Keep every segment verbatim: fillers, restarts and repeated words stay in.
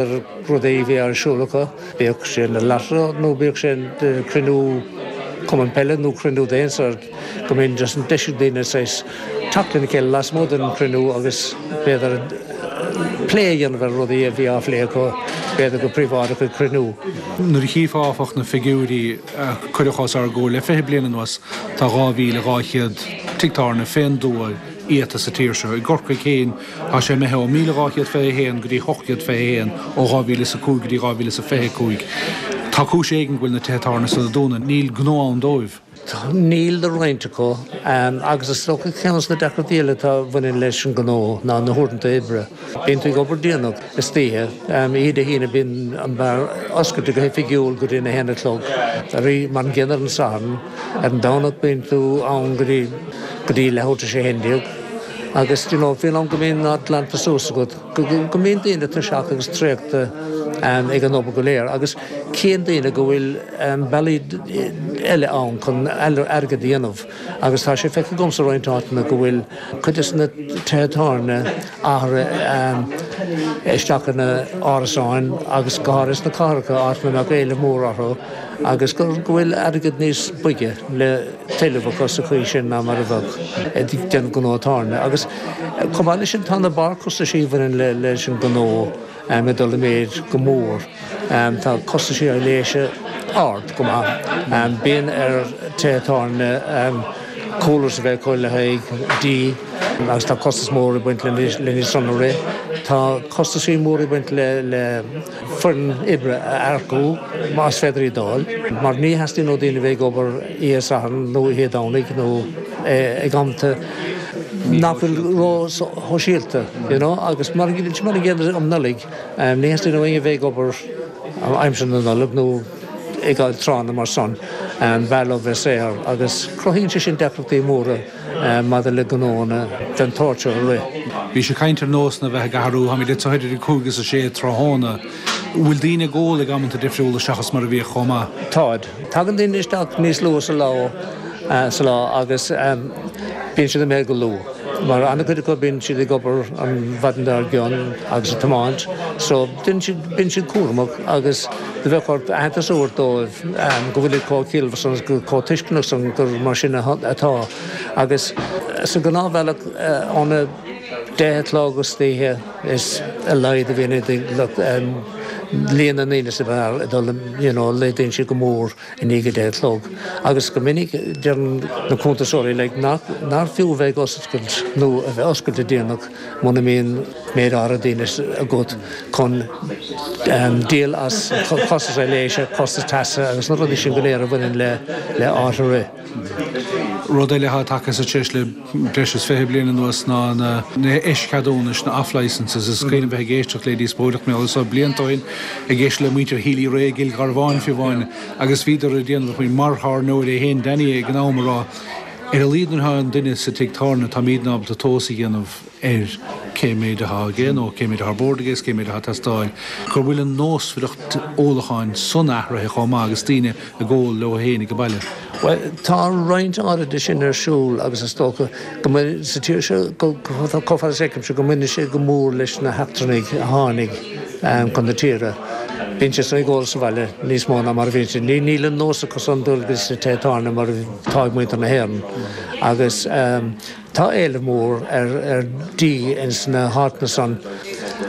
Ar rudaí a bhí ar siúl acu, bíodh sé na lottery nó bíodh sé cruinniú cumann peile nó cruinniú d'aon sórt, go mbíonn just an deis ag daoine saghas teacht lena chéile lasmuigh den chruinniú agus b'fhéidir plé a dhéanamh ar rudaí a bhí á phlé acu, b'fhéidir go príobháideach ag cruinniú. Nuair a chífeá, áfach, na figiúirí a cuireadh os ár gcomhair le fiche bliain anuas, tá dhá mhíle dhá chéad tigh tábhairne fén dtuath iata sa tír seo. I gCorcaigh féin tá sé imithe ó míle dhá chéad fiche a haon go dtí ocht gcéad fiche a haon ó dhá mhíle is a cúig go dtí dhá mhíle is a fiche a cúig. Tá cúis éigin go bhfuil na tithe tábhairne so ag dúnadh. Níl gnó ann dóibh. Níl do roinnt acu, agus is dócha ceann de na deacrachtaí eile atá a bhaineann leis an ngnó ná na huaireanta oibre. Bíonn tú ag obair déanach istoíche, oíche Dé hAoine bíonn an beár oscailte go hoifigiúil go dtí a haon a chlog, mar an gcéanna ar an Satharn, ar an Domhnach bíonn tú ann go dtí go dtí leathuair tar éis a haon déag agus you know faoin am go mbíonn an áit glanta suas agat go mbíonn daoine tuirseach agus traochta ag an obair go léir agus cíonn daoine go bhfuil bealaí eile ann chun airgead a dhéanamh agus tá sé feicthe agamsa roinnt áiteanna go bhfuil cuid de na tithe tábhairne athraithe isteach ina árasáin agus go háirithe sna cathracha, áit a mbeadh éileamh mór orthu agus go bhfuil airgead níos boige le tuilleamh acu sa chaoi sin ná mar a bheadh ag déanamh gnó tábhairne. Agus chomh maith leis sin tá na barrchostaisí a bhaineann leis an ngnó ag dul i méid go mór. Tá costaisí aibhléise ard go maith. Bíonn ar tithe tábhairne coolers a bheith acu le haghaidh dí agus tá costas mór ag baint lena san a rith. Tá costaisí mór ag baint le le foireann oibre a earcú más féidir iad a fháil, mar ní theastaíonn ó daoine a bheith ag obair oíche Sathairn nó oíche Domhnaigh nó ag amanta nach bhfuil ró-shóisialta, you know, agus mar an gcéanna um Nollaig, ní theastaíonn ó éinne a bheith ag obair aimsir na Nollag nó ag tráthanna mar san, b'fhearr leo bheith saor agus cruthaíonn sé sin deacrachtaí móra maidir le gnóanna den tsórt seo a rith. Bhís ag caint ar nósanna a bheith ag athrú, táimid anseo idir a cúig agus a sé tráthnóna. Bhfuil daoine ag ól ag amanta difriúla seachas mar a bhíodh chomh maith? Táid. Tagann daoine isteach níos luath sa lá sa lá agus bíonn siad imithe go luath. Mar an-chuid acu bíonn siad ag obair an mhaidin dár gcionn agus ag tiomáint so bíonn siad bíonn siad cúramach agus do bheadh ort aitheantas a thabhairt dóibh go bhfuil chomh ciallmhar san agus chomh tuisceanach san gur mar sin atá. Agus sa ghnáthbhealach óna deich a chlog istoíche is a laghad a bhíonn líon na ndaoine sa bheár ag dul you know laghdaíonn siad go mór i ndiaidh a deich a chlog. Agus go minic deireann na cuntasóirí like nach nár fiú a bheith ag oscailt nó a bheith oscailte déanach muna mbíonn méid áirithe daoine agat chun díol as costas aibhléise, costas teasa agus na rudaí sin go léir a bhaineann le le áit a rith. Rud eile atá tagtha sa treis le breis is fiche bliain anuas ná na heischeadúnais, na off-licences. Is cuimhin bheith ag éisteacht le díospóireacht mé so blianta ó shin ag éisteacht le muintir Healy-Rae i gCill Gharbháin fiú amháin agus bhíodar ag déanamh faoi mar thábhairneoir é féin Danny ag an am a rá ar a laghad nuair atá an duine sa tigh tábhairne táimidne ábalta tomhas a dhéanamh ar cé méid atá aige nó cé méid atá ar bord aige is cé méid atá ag teastáil, go bhfuil an nósmhaireacht ólacháin san athraithe chomh maith agus daoine ag ól leo féin ag baile. Bhuel, tá roinnt áirithe de sin ar siúl agus is dócha go mbeidh sa tír seo chomh fada is a fheicimse go mbaineann sé go mór leis na heachtrannaigh a tháinig chun na tíre. Bíonn siad ag ól sa bhaile níos mó ná mar a bhíonn siad. Níl an nós acu san dul go dtí na tithe tábhairne mar atá ag muintir na hÉireann agus tá éileamh mór ar ar dí ins na háiteanna san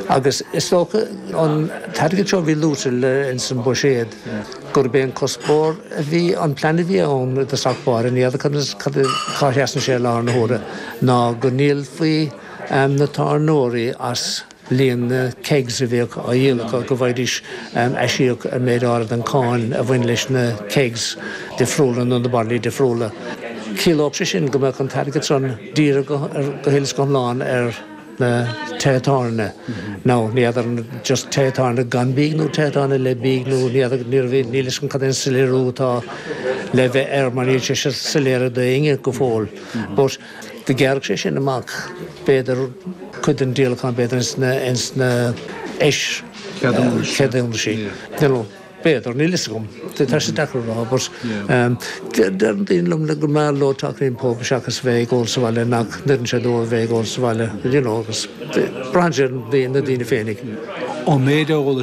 agus is dócha an t-airgead seo a bhí luaite le ins an buiséad gurb é an cuspóir a bhí an plean a bhí ann i dtosach báire, ní fheadar cad cá sheasann sé i láthair na huaire, ná go ndíolfaí na tábhairneoirí as líon na kegs a bhíodh á dhíol acu, go bhfaighidís aisíoc ar méid áirithe den cáin a bhain leis na kegs difriúla nó na bairillí difriúla. Chiallódh sé sin go mbeadh an t-airgead san dírithe go huile is go hiomlán ar na tithe tábhairne. Now, ní fheadar an just tithe tábhairne gan bídh nó tithe tábhairne le bídh nó ní fheadar, níl a fhios agam cad é an soiléiriú atá le bheith air mar níl sé soiléir d'éinne go fóill. But do ghearrfadh sé sin amach b'fhéidir cuid den díolachán b'fhéidir ins na ins na eis-cheadúnaisí. You know, b'fhéidir, níl fhios agam. Tá sé deacair a rá, but deireann daoine liom go mb'fhearr leo teacht go dtí an pub seachas bheith ag ól sa bhaile nach n-oireann sé dóibh a bheith ag ól sa bhaile, you know, agus braitheann sé ar na daoine féinig. Ó méid eolais